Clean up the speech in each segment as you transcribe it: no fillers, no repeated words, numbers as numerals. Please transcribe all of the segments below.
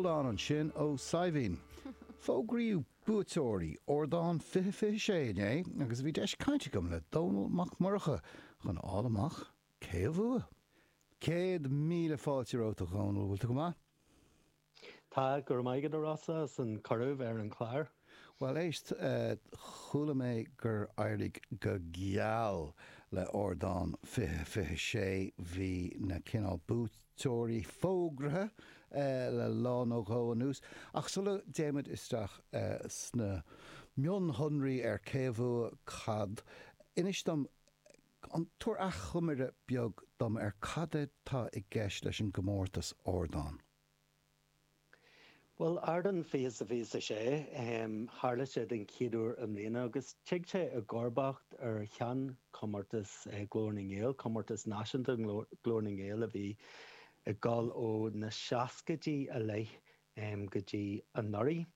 Hold On ansin ó Saidhbhín. Fógraíodh buaiteoirí Ardán 2026 inné agus bhí deis cainte agam le Dónall Mac Murcha chun a fháil amach cé a bhuaigh. 100,000 fáilte romhat a Dhónaill, bhfuil tú go maith? Tá, go raibh maith agat a Rossa as an cuireadh bheith ar an chlár. Bhuel éist, chuala mé gur éirigh go geal le Ardán 2026, bhí na cineál buaiteoirí fógraithe le lá nó dhó anuas. Ach sula dtéimid isteach sna mionshonraí ar cé a bhuaigh cad, inis dom, tabhair achoimre beag dom ar cad atá i gceist leis an gcomórtas Ardán. Bhuel, Ardán 2026, tharla sé den chéad uair i mbliana agus tig sé i gcomharbacht ar sheanchomórtas Ghlór na nGael, comórtas náisiúnta Ghlór na nGael a bhí ag dul ó na seascaidí i leith go dtí anuraidh.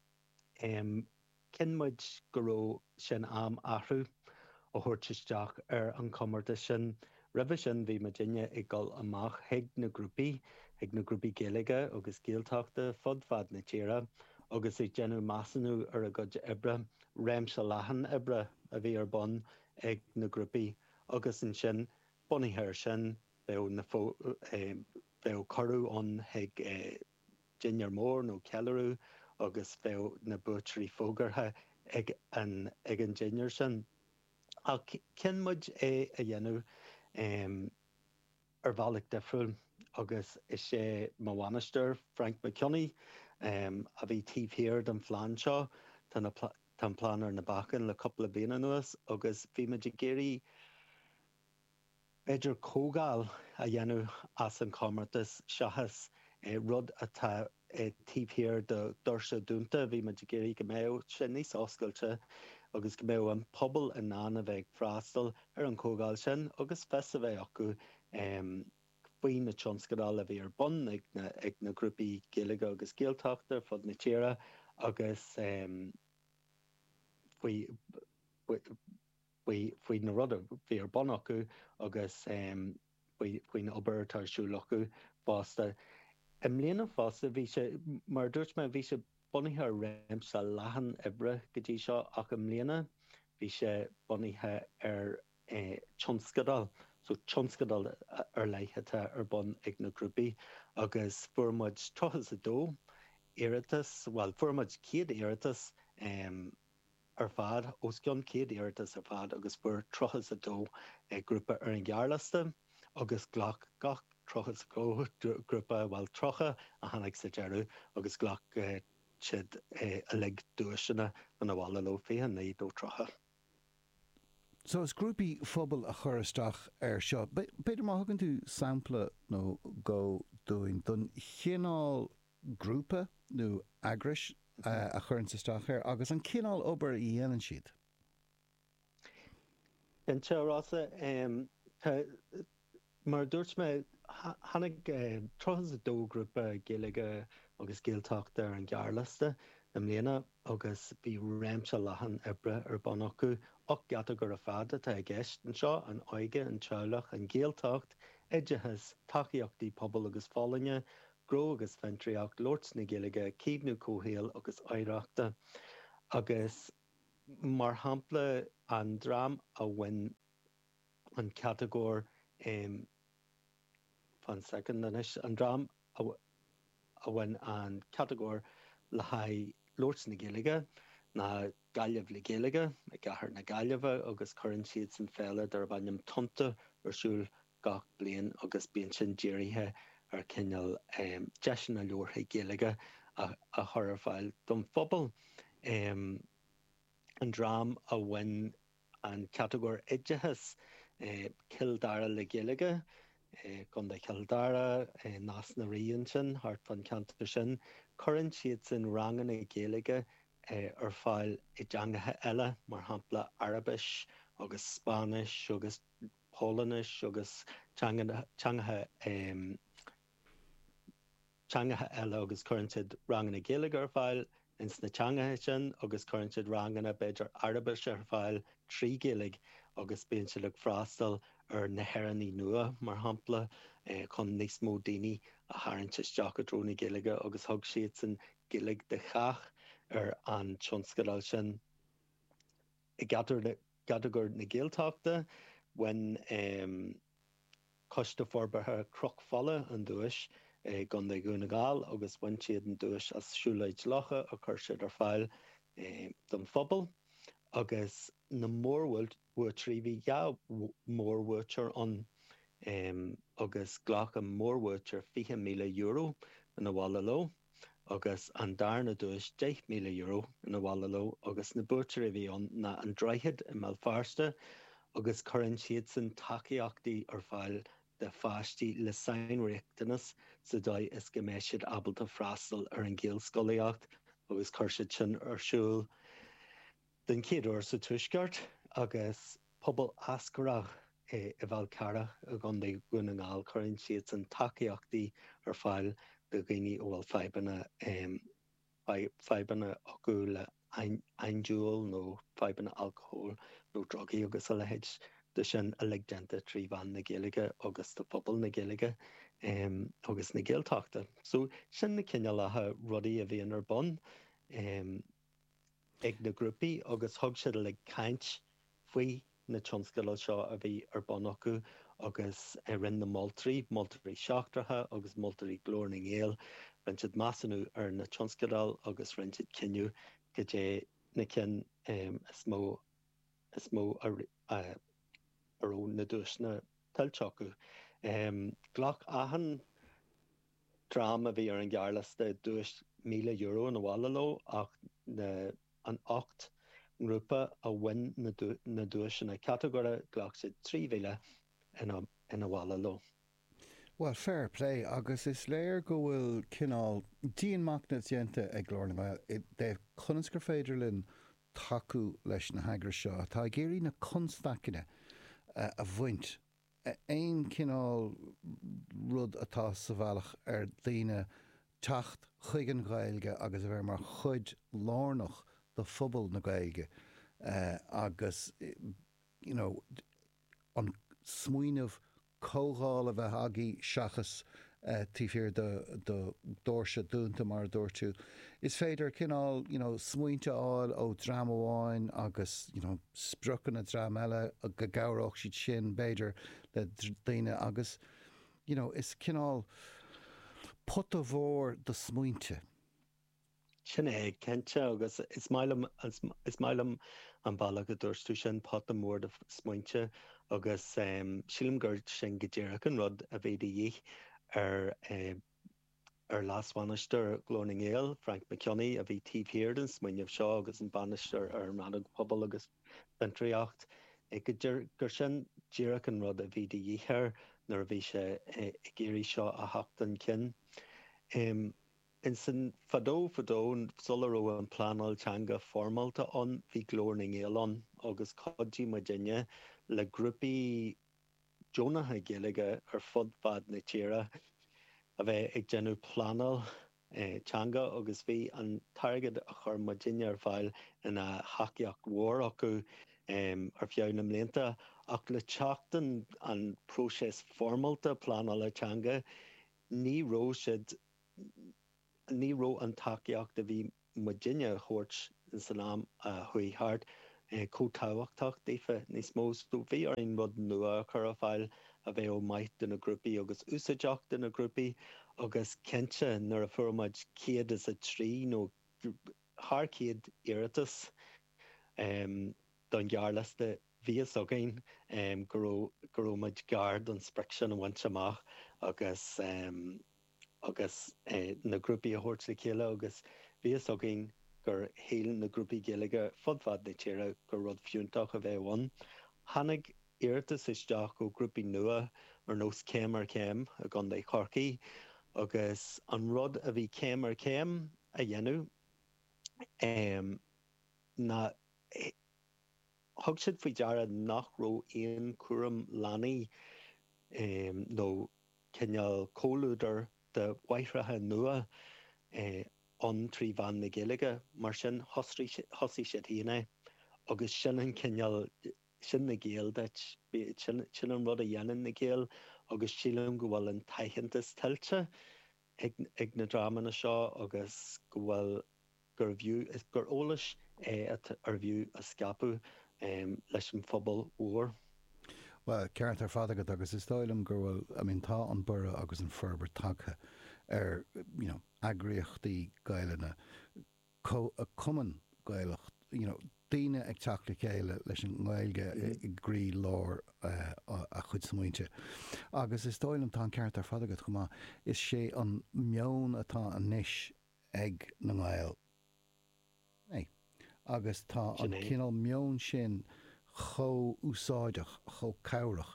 Chinn muid go raibh sé in am athrú a thabhairt isteach ar an chomórtas sin. Roimhe sin bhí muidinne ag dul amach chuig na grúpaí, chuig na grúpaí Gaeilge agus Gaeltachta fud fad na tíre agus ag déanamh measúnú ar a gcuid oibre, réimse leathan oibre a bhí ar bun ag na grúpaí agus ansin bunaithe ar sin bheadh na, bheadh cuireadh ann chuig dinnéar mór nó ceiliúradh agus bheadh na buaiteoirí fógartha ag an ag an dinnéar sin. Ach chinn muid é a dhéanamh ar bhealach difriúil agus is é mo bhainisteoir, Frank McKinney, a bhí taobh thiar den phlean seo. Tá na tá an plean ar na bacáin le cúpla bliain anuas agus bhí muid ag iarraidh b'fhéidir comhdháil a dhéanamh as an chomórtas seachas rud atá taobh thiar de dhoirse dúnta. Bhí muid ag iarraidh go mbeadh sé níos oscailte agus go mbeadh an pobal in ann a bheith ag freastal ar an chomhdháil sin agus fios a bheith acu faoi na tionscadail a bhí ar bun ag na ag na grúpaí Gaeilge agus Gaeltachta ar fud na tíre agus faoi faoi na rudaí a bhí ar bun acu agus faoin obair atá ar siúl acu fosta. I mbliana fosta, bhí sé, mar a dúirt mé, bhí sé bunaithe ar réimse leathan oibre go dtí seo ach i mbliana bhí sé bunaithe ar tionscadal, so tionscadal ar leith atá ar bun ag na grúpaí agus fuair muid 32 iarratas, bhuel fuair muid 100 iarratas, ar fad, os cionn 100 iarratas ar fad agus fuair 32 grúpa ar an ghearrliosta agus ghlac gach 32 grúpa, bhuel 30 a tháinig sa deireadh agus ghlac siad uilig duaiseanna chun abhaile leo, 29 nó 30. So is grúpaí phobail a chuir isteach air seo. B'fhéidir má thugann tú sampla nó dhó dúinn don chineál grúpa nó eagrais a chuireanns isteach air agus an cineál obair a dhéanann siad. Cinnte, a Rossa. Mar a dúirt mé, tháinig 32 grúpa Gaeilge agus Gaeltachta ar an ghearrliosta i mbliana agus bhí réimse leathan oibre ar bun acu. 8 gcatagóir ar fad atá i gceist anseo, an óige, an teaghlach, an Ghaeltacht, oideachas, tacaíochtaí pobail agus folláine, Gnó agus Fiontraíocht, Labhairt na Gaeilge, Caomhnú Comhshaoil agus Oidhreachta agus mar shampla an dream a bhain an catagóir fan soicind anois, an dream a bhain an catagóir le haghaidh labhairt na Gaeilge ná Gaillimh le Gaeilge i gcathair na Gaillimhe agus cuireann siadsan féile darb ainm Tonnta ar siúl gach bliain agus bíonn sin dírithe ar chineál deiseanna labhartha Gaeilge a chur ar fáil don phobal. An dream a bhain an catagóir oideachais, Cill Dara le Gaeilge, Contae Chill Dara, Nás na Rí ansin, thart fán cheantar sin, cuireann siadsan ranganna Gaeilge ar fáil i dteangacha eile, mar shampla Araibis agus Spáinnis agus Polainnis agus teangacha teangacha eile agus cuireann siad ranganna Gaeilge ar fáil ins na teangacha sin agus cuireann siad ranganna b'fhéidir Araibise ar fáil trí Ghaeilge agus bíonn siad ag freastal ar na hÉireannaigh nua mar shampla chun níos mó daoine a tharraingt isteach i dtreo na Gaeilge agus thug siadsan Gaeilge do Chách ar an tionscadal sin. I gcatagóir na Gaeltachta, bhain Coiste Forbartha Chnoc Fola an duais i gContae Dhún na nGall agus bhain siad an duais as Siúlóid Locha a chuir siad ar fáil don phobal agus na mórbhuaiteoirí, bhí 2 mhórbhuaiteoir ann agus ghlac an mórbhuaiteoir €20,000 ina bhaile leo agus an darna duais €10,000 ina bhaile leo agus na buaiteoirí a bhí ann ná An Droichead i mBéal Feirste agus cuireann siadsan tacaíochtaí ar fáil do pháistí le sainriachtanas sa dóigh is go mbeidh siad ábalta freastal ar an Ghaelscolaíocht agus chuir siad sin ar siúl den chéad uair sa Tuaisceart agus Pobal Eascarrach i bhFál Carrach i gContae Dhún na nGall, cuireann siadsan tacaíochtaí ar fáil do dhaoine a bhfuil fadhbanna fadhbanna acu le andúil nó fadhbanna alcóil nó drugaí agus a leithéid de sin, uilig déanta trí mheán na Gaeilge agus do phobal na Gaeilge agus na Gaeltachta. So sin na cineálacha rudaí a bhíonn ar bun. ag na grúpaí agus thug siad uilig caint faoi na tionscadail seo a bhí ar bun acu agus rinne na moltóirí, moltóirí seachtracha agus moltóirí Glór na nGael, rinne siad measúnú ar na tionscadail agus rinne siad cinneadh cad é na cinn is mó is mó a raibh na duaiseanna tuillte acu. Ghlac achan dream a bhí ar an ghearrliosta duais €1,000 ina bhaile leo ach na an 8 ngrúpa a bhain na duaiseanna catagóire, ghlac siad 3,000 ina bhaile leo. Bhuel, fair play, agus is léir go bhfuil cineál dianmhachnamh déanta ag Glór na nGael i dtaobh conas gur féidir linn tacú leis na heagrais seo atá ag iarraidh na constaiceanna a bhaint aon chineál rud atá sa bhealach ar daoine teacht chuig an Ghaeilge agus a bheith mar chuid lárnach de phobal na Gaeilge agus you know an smaoineamh comhdháil a bheith agaibh seachas taobh thiar de dhoirse dúnta mar a dúirt tú. Is féidir cineál you know smaointe a fháil ó dream amháin agus you know spriocanna dream eile go gcabhródh siad sin b'fhéidir le daoine agus you know is cineál pota mhór de smaointe. Sin é, cinnte, agus is maith liom, is maith liom an bealach a dúirt tú sin, pota mór de smaointe, agus sílim gur sin go díreach an rud a bhí de dhíth ar ar leasbhainisteoir Ghlór na nGael, Frank McKeown, a bhí taobh thiar den smaoineamh seo agus an bainisteoir ar an rannóg Pobal agus Fiontraíocht, gur sin díreach an rud a bhí de dhíth air nuair a bhí sé ag iarraidh seo a theacht chun cinn. Ansin, fadó fadó, sula raibh an pleanáil teanga foirmeálta ann, bhí Glór na nGael ann agus chuidigh muidinne le grúpaí deonacha Gaeilge ar fud fad na tíre a bheith ag déanamh pleanáil teanga agus bhí an t-airgead a chuir muidinne ar fáil ina thacaíocht mhór acu ar feadh na mblianta. Ach le teacht an próiseas foirmeálta pleanála teanga, ní raibh siad Ní raibh an tacaíocht a bhí muidinne a thabhairt san am a chuaigh thart chomh tábhachtach daofa níos mó. So bhí orainn rud nua a chur ar fáil a bheadh maith do na grúpaí agus úsáideach do na grúpaí agus cinnte nuair a fuair muid 103 nó thar 100 iarratas don ghearrliosta bhí fhios againn go raibh go raibh muid gar don sprioc sin a bhaint amach agus agus na grúpaí a thabhairt le chéile agus bhí fhios againn gur shíl na grúpaí Gaeilge fud fad na tíre gur rud fiúntach a bheadh ann. Tháinig iarratas isteach ó ghrúpaí nua ar nós Céim ar Chéim i gContae Chorcaí agus an rud a bhí Céim ar Chéim a dhéanamh ná thug siad faoi deara nach raibh aon chúram leanaí nó cineál comhluadar do mháithreacha nua ann trí mheán na Gaeilge, mar sin thosaigh siad féin é agus sin an cineál, sin na Gaeil duit, sin an rud a dhéanann na Gaeil agus sílim go bhfuil an t-aitheantas tuillte. ag na dreamanna seo agus go bhfuil gurbh fhiú, gur eolas é arbh fhiú a scaipeadh leis an phobal mhór. Bhuel, ceart ar fad agat agus is dóigh liom go bhfuil, I mean tá an borradh agus an forbairt tagtha ar, you know, eagraíochtaí Gaelainne, cumann Gaelach, you know, daoine ag teacht le chéile leis an nGaeilge i gcroí lár a chuid smaointe. Agus is dóigh liom, tá an ceart ar fad agat chomh maith, is sé an meon atá anois ag na nGaeil é. Agus tá an cineál meoin sin chomh úsáideach, chomh cabhrach.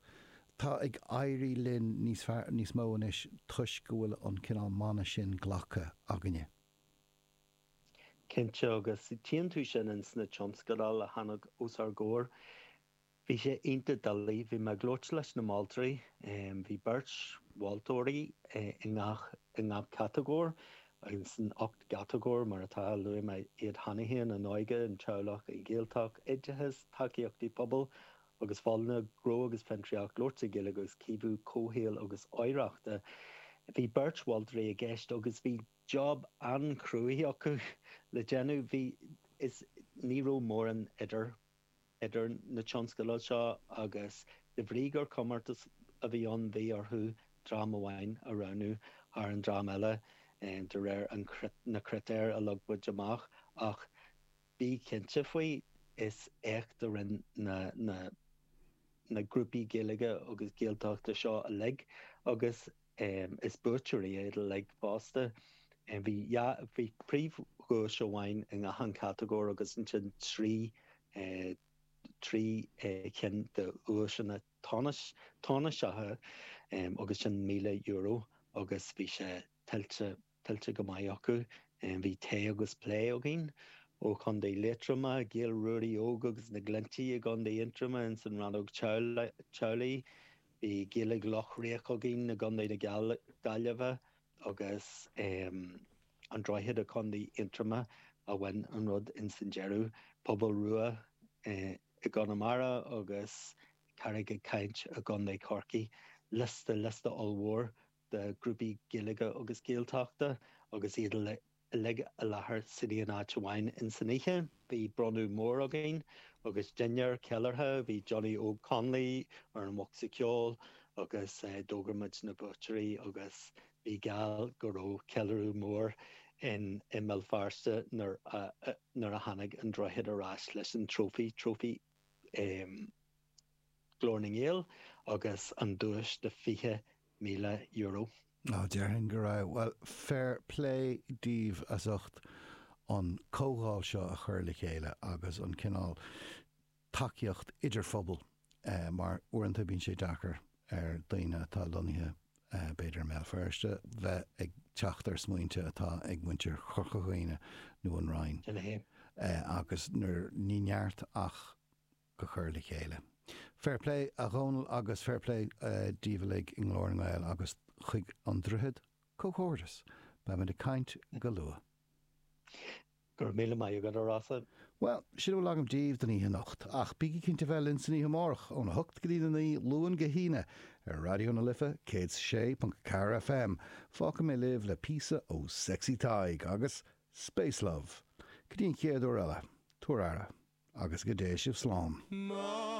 Tá ag éirí linn níos fearr, níos mó anois toisc go bhfuil an cineál mana sin glactha againne. Cinnte, agus tchíonn tú sin ins na tionscadail a tháinig os ár gcomhair. Bhí sé iontach doiligh. Bhí mé ag labhairt leis na moltóirí. Bhí beirt mholtóirí i ngach, i ngach catagóir, ins an 8 gcatagóir mar atá, luaigh mé iad cheana féin, an óige, an teaghlach, an Ghaeltacht, oideachas, tacaíochtaí pobail agus folláine, gnó agus fiontraíocht, labhairt na Gaeilge agus caomhnú comhshaoil agus oidhreachta. Bhí beirt mholtóirí i gceist agus bhí job an-chruaidh acu le déanamh. Bhí, is ní raibh mórán idir, idir na tionscadail seo agus de bhrí gur comórtas a bhí ann bhí orthu dream amháin a roghnú thar an dream eile de réir an, na critéir a leag muid amach ach bí cinnte faoi, is éacht a rinne na, na, na grúpaí Gaeilge agus Gaeltachta seo uilig agus. Is buaiteoirí iad uilig fosta. Bhí dhá, bhí príomhdhuais amháin i ngach aon chatagóir agus ansin 3, 3 chinn de dhuaiseanna tánaisteacha agus sin €1,000 agus bhí sé tuillte, tuillte go maith acu. Bhí tae agus plé againn ó Chontae Liatroma, Gaeil Ruairí Óg agus na Glinntí i gContae Aontroma ins an rannóg teaghlaigh. Bhí Gaeilge Loch Riach againn i gContae na Gaillimhe agus An Droichead i gContae Aontroma a bhain an rud ins an deireadh. Pobal Rua i gConamara agus Carraig ag Caint i gContae Chorcaí. Liosta, liosta ollmhór de ghrúpaí Gaeilge agus Gaeltachta agus iad uilig i láthair san aon áit amháin ins an oíche. Bhí bronnadh mór againn agus dinnéar ceiliúrtha. Bhí Johnny Óg Connolly ar an bhocsa ceoil agus d'fhógair muid na buaiteoirí agus bhí geall go raibh ceiliúradh mór in i mBéal Feirste nuair a nuair a tháinig an Droichead ar ais leis an trófaí, trófaí Glór na nGael agus an duais de €20,000. Á, déarfainn go raibh. Bhuel, fair play daoibh as ucht an comhdháil seo a chur le chéile agus an cineál tacaíocht idirphobail mar uaireanta bíonn sé deacair ar daoine atá lonnaithe b'fhéidir i mBéal Feirste bheith ag teacht ar smaointe atá ag muintir Chorca Dhuibhne nó an Rinn agus nuair ní neart ach go cur le chéile. Fair play a Dhónaill agus fair play daoibh uilig i nGlór na nGael agus chuig An Droichead, comhghairdeas! Beimid ag caint go luath. Go raibh míle maith agat, a Rossa. Bhuel, sin a bhfuil agam daoibh don oíche anocht, ach bígí cinnte bheith linn san oíche amárach, óna hocht go dtí a 9, Luan go hAoine, ar Raidió na Life 106.4 FM. Fágfaidh mé libh le píosa ó Sexy Tadhg agus Space Love. Go dtí an chéad uair eile, tabhair aire, agus go dté sibh slán.